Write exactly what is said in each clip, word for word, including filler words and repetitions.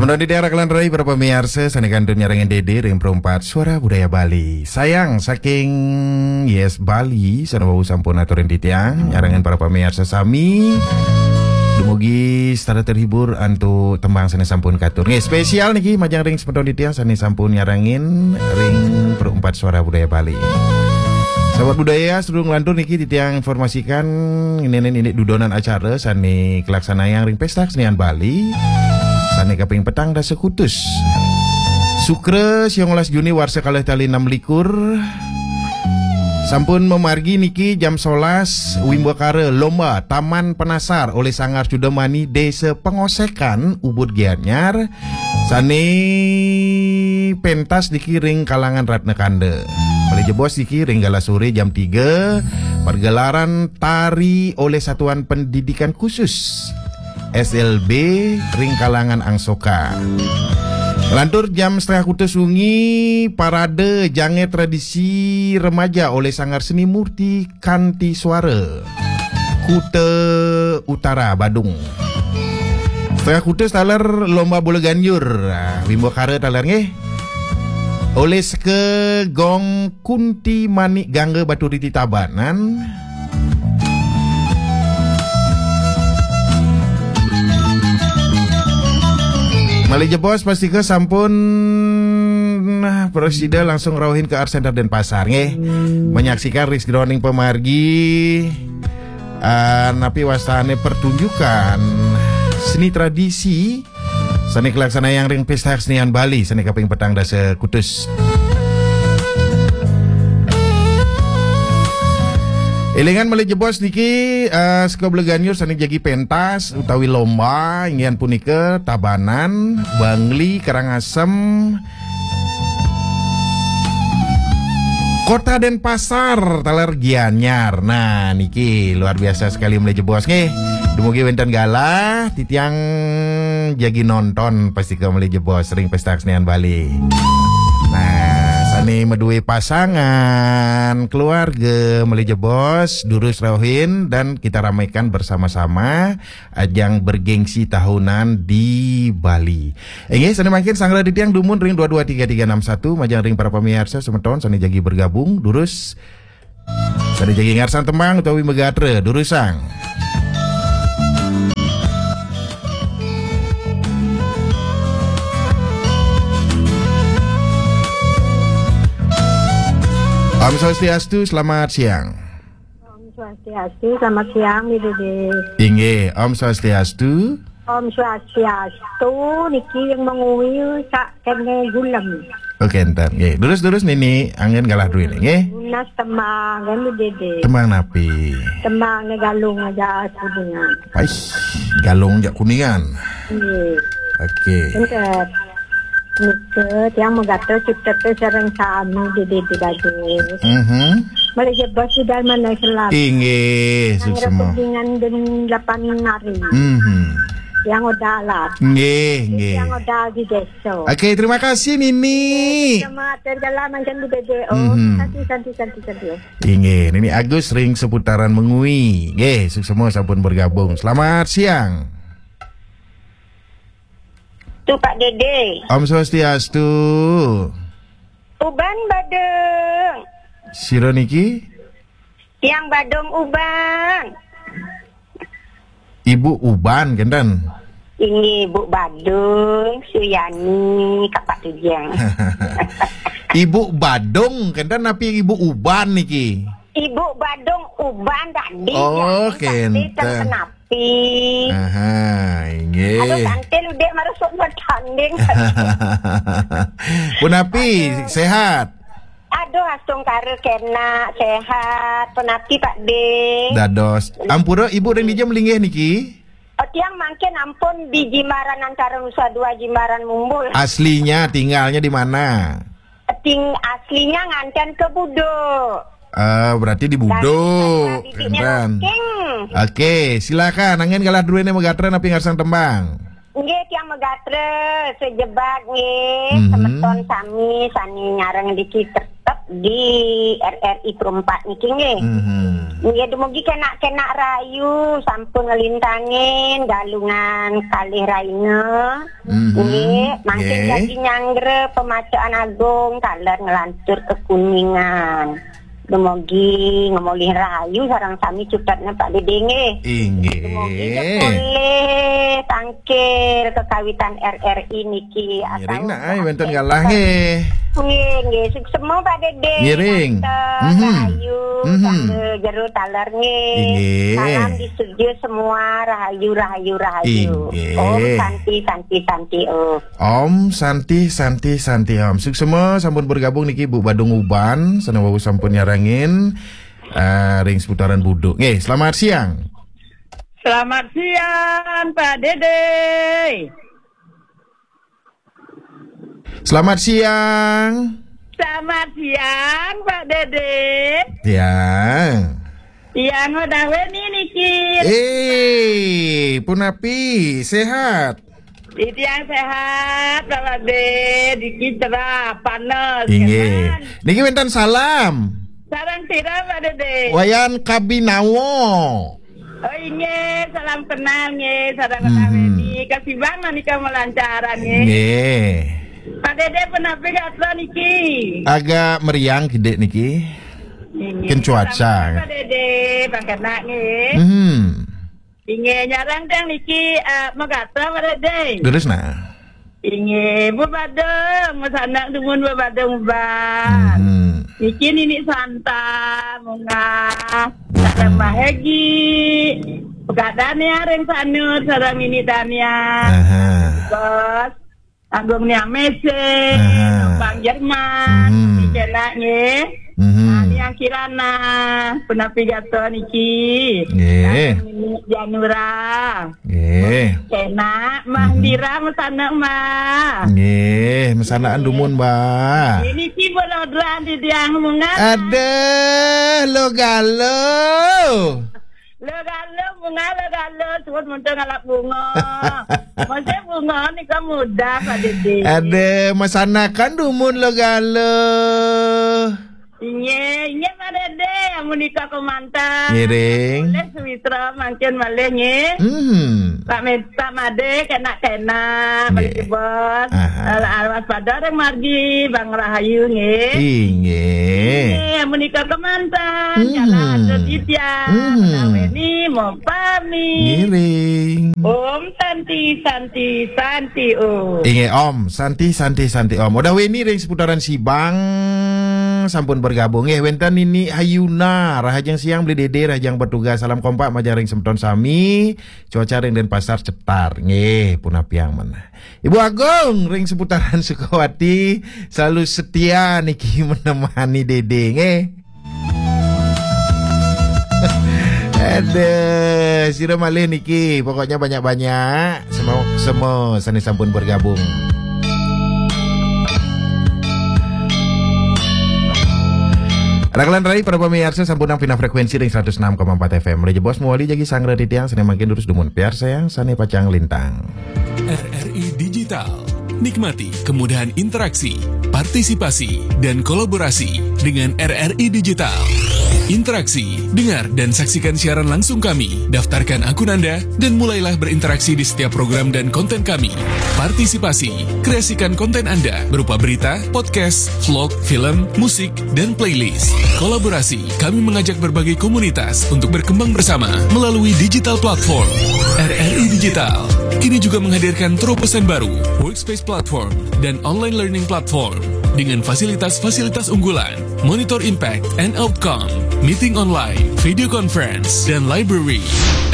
Menawi titiang raka lan rai para pamiarsa sané kantun nyarengin Dédé ring Perumpat Suara Budaya Bali. Sayang saking Yes Bali, sané wau sampun aturin titiang, nyarengin para pamiarsa sami. Dumugi setata terhibur antuk tembang sané sampun katur. Nggih, spesial niki majeng ring semeton titiang sané sampun nyarengin ring Perumpat Suara Budaya Bali. Sahabat budaya, sadurung nglantur niki titiang informasikan, ini, ini, ini dudonan acara sané kalaksanayang ring Pesta Kesenian Bali sané kaping petang dasa kutus. Sukra, siang welas Juni, warsa kalih tali enam likur. Sampun mamargi niki jam sebelas, wimbakara lomba Taman Penasar oleh Sanggar Cudamani Desa Pengosekan, Ubud Gianyar, sané pentas niki ring kalangan Ratna Kanda. Malih jebos niki ring galah sore jam tiga, pergelaran tari oleh Satuan Pendidikan Khusus, S L B, ring kalangan Angsoka. Lantur jam setengah kutus wengi, parade jangé tradisi remaja oleh Sanggar Seni Murti Kanti Suara, Kuta Utara, Badung. Setengah kutus taler lomba bola ganjur. Ah, wimbakara taler nggih. Oleh Seka Gong Kunti Manik Gangga Baturiti Tabanan. Malih jebos pastika sampun, nah, prasida langsung rauhin ke Art Center Denpasar nggih. Menyaksikan ring sajeroning pamargi, ah, napi wastané pertunjukan seni tradisi sané kalaksanayang ring Pesta Kesenian Bali sané kaping petang dasa kutus. Élingan malih jebos niki, eh, Seka Bola Ganjur sané jagi pentas utawi lomba, inggih punika Tabanan, Bangli, Karangasem, Kota Denpasar, taler Gianyar. Nah, niki luar biasa sekali malih jebos nggih. Dumugi wénten galah, titiang jagi nonton pastika malih jebos ring Pesta Kesenian Bali. Nah, sané madué pasangan, keluarga, malih jebos, durus rauhin dan kita ramaikan bersama-sama ajang bergengsi tahunan di Bali. Inggih, sané mangkin sanggra titiang dumun ring dua dua tiga tiga enam satu, majeng ring para pamiarsa semeton sané jagi bergabung, durus. Sané jagi ngarsang tembang utawi magatra, durusang. Om Swastiastu, selamat siang. Om Swastiastu, selamat siang, Dédé. Inggih, Om Swastiastu. Om Swastiastu, niki yang mengui sak kene gulem. Oke, entar. Nggih, durus-durus nini anggén galah druéné, nggih. Nunas tembang, kan, Dédé. Tembang napi? Tembang né Galung Aja Kuningan. Ais, Galung Aja Kuningan. Nggih. Oke. Entar. Nika, tiang magatra cipta sareng sami di dede dados. Mhm. Malih jebos di dalem manah selam. Inggih, suksma. Rembingan den lapan hari. Mhm. Tiang odalat. Nggih, nggih. Tiang odal di desa. Oke, terima kasih, Nini. Sama atur jalan mancan di B B O. Mhm. Santi, santi, santi, santi. Inggih, Nini Agus ring seputaran Mengwi. Nggih, suksma sampun bergabung. Selamat siang. Tu Pak Dede. Om Swastiastu. Uban Badung. Sira niki? Tiang Badung Uban. Ibu Uban, kenten? Inggih, Bu Badung, Suyani, Kapak Tujang. Ibu Badung, kenten napi Ibu Uban niki? Ibu Badung Uban tadi. Oh, ya, kenten. Tapi kan kenapa? Aha, inggih. Aduh, kantil udah marusuk bertanding. Punapi, aduh. Sehat? Aduh, astungkara kena, sehat. Punapi, Pak De? Dados. Ampura, Ibu ring dija malinggih niki? Oh, tiang mangkin ampun di Jimbaran antara Nusa Dua, Jimbaran Mumbul. Aslinya tinggalnya di mana? Ting-, aslinya nganten ke Budo. Ah, berarti di Budo. Dari Budo. Kenten. Rocking. Oke, silakan. Anggén galah druéné magatra napi ngarsang tembang? Nggih, tiang magatra sejebag nggih. Mhm. Semeton sami sani nyareng diki tetep di R R I Pro empat niki nggih. Mhm. Nggih, dumugi kenak-kenak rahayu, sampun ngelintangin galungan kalih raina. Mhm. Nggih, mangkin Nggih. Jadi nyanggra pemacaan agung, taler ngelantur ke Kuningan. Dumugi ngemolih rahayu sareng sami cutetna Pak Dede nggih. Inggih. Dumugi polih tangkil kekawitan R R I niki. Ngiring atau nak, ai, wenten galah nggih. Nggih, nggih. Suksema Pak Dede. Ngiring. Tante, Mhm. Rahayu, Mhm. Tante jero taler nggih. Inggih. Salam di studio semua, rahayu, rahayu, rahayu. Inggih. Om Santi, Santi, Santi, Om. Om Santi, Santi, Santi, Om. Suksema sampun bergabung niki Bu Badung Uban, sane wau sampun nyarengin, eh, ring seputaran Buduk. Nggih, selamat siang. Selamat siang, Pak Dede. Selamat siang. Selamat siang, Pak Dede. Siang. Tiang Odaweni niki. Eh, punapi, sehat? Tiang sehat, Pak Dede. Niki cerah, panas, Inggih. Niki wenten salam. Sareng sira, Pak Dede? Wayan Kabinawo. Oh, inggih, salam kenal nggih, sareng Mhm. Odaweni. Kasibang menika melancaran nggih. Nggih. Pak Dede, punapi gatra niki? Agak meriang kidik niki. Inggih. Ken cuaca. Sampun, Pak Dede, pangkenak nggih. Mhm. Inggih, nyarang tiang niki, eh, megatra, Pak Dede. Terus nah. Inggih, Bu Badung, mesanak dumun Bu Badung, Bang. Mhm. Niki Nini Santa, Munga, sareng Mbah Hegi. Pegadane areng sanut, sareng Nini Dania. Aha. Bos, Agung Nia Mesih, Aha. Bang Jerman, Mhm. Dicela nggih. Mhm. Nah, Niang Kirana, punapi gatra niki. Nggih. Sareng Nini Janura. Nggih. Kenak, Mbah Mhm. Dira, mesanak, Mbah. Nggih, mesanakan dumun, Mbah. Ini ki bolodran di tiang Munga. Aduh, lo galo. Lo galo, Munga, lo galo, suwun muntung ngalap bunga. Mesti bunga nika mudah, Pak Dede. Aduh, mesanakan dumun lo galo. Inggih, inggih, Pak Dede, amun nika kemanten. Ngiring. Boleh sawitra mangkin malih nggih. Hmm. Pak Med-, Pak Made, kenak-kenak, Pak Nggih. Dede Bos. Aha. Ala-, ala waspada ring margi, Bang Rahayu nggih. Inggih. Inggih, amun nika kemanten, Hmm. Jalan Atur Titiang, Hmm. Menaweni, mau pamit. Ngiring. Om Santi, Santi, Santi, Om. Inggih, Om. Santi, Santi, Santi, Om. Odaweni ring seputaran Sibang, sampun bergabung. Nggih, wenten Nini Hayuna, rahajeng siang Beli Dede, rahajeng bertugas. Salam kompak majeng ring semeton sami. Cuaca ring Denpasar cetar. Nggih, punapiang menah. Ibu Agung ring seputaran Sukawati, selalu setia niki menemani Dede, nggih. Aduh, sira malih niki, pokoknya banyak-banyak. Semua, semua sane sampun bergabung. Rakalan rai, para pamiarsa, sampun pinah frekuensi ring seratus enam koma empat F M. Malih jebos mawali jagi sanggra titiang sane mangkin durus dumun piarsayang sane pacang lintang. R R I Digital. Nikmati kemudahan interaksi, partisipasi, dan kolaborasi dengan R R I Digital. Interaksi, dengar dan saksikan siaran langsung kami. Daftarkan akun Anda dan mulailah berinteraksi di setiap program dan konten kami. Partisipasi, kreasikan konten Anda berupa berita, podcast, vlog, film, musik, dan playlist. Kolaborasi, kami mengajak berbagai komunitas untuk berkembang bersama melalui digital platform. R R I Digital kini juga menghadirkan terobosan baru, Workspace Platform dan Online Learning Platform, dengan fasilitas-fasilitas unggulan, Monitor Impact and Outcome, Meeting Online, Video Conference, dan Library.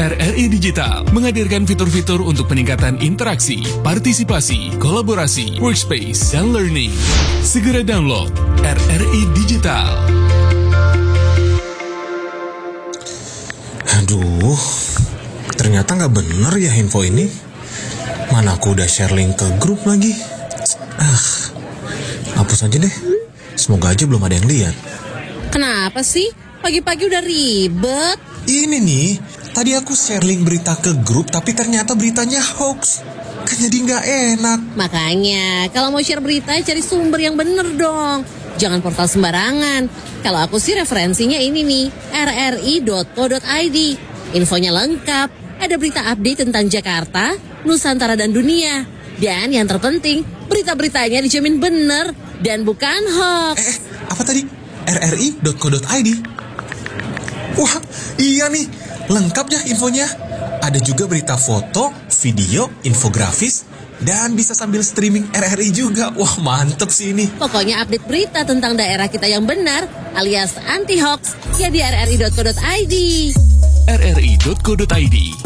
R R I Digital menghadirkan fitur-fitur untuk peningkatan interaksi, partisipasi, kolaborasi, workspace, dan learning. Segera download R R I Digital. Aduh, ternyata nggak bener ya info ini. Mana aku udah share link ke grup lagi. Ah, hapus aja deh. Semoga aja belum ada yang lihat. Kenapa sih? Pagi-pagi udah ribet. Ini nih, tadi aku share link berita ke grup, tapi ternyata beritanya hoax. Kan jadi nggak enak. Makanya, kalau mau share berita, cari sumber yang bener dong. Jangan portal sembarangan. Kalau aku sih referensinya ini nih, rri.co.id. Infonya lengkap, ada berita update tentang Jakarta, Nusantara dan dunia. Dan yang terpenting, berita-beritanya dijamin bener dan bukan hoax. Eh, apa tadi? rri.co.id. Wah, iya nih. Lengkap ya infonya. Ada juga berita foto, video, infografis, dan bisa sambil streaming RRI juga. Wah, mantep sih ini. Pokoknya update berita tentang daerah kita yang benar alias anti hoax ya di rri.co.id. rri.co.id.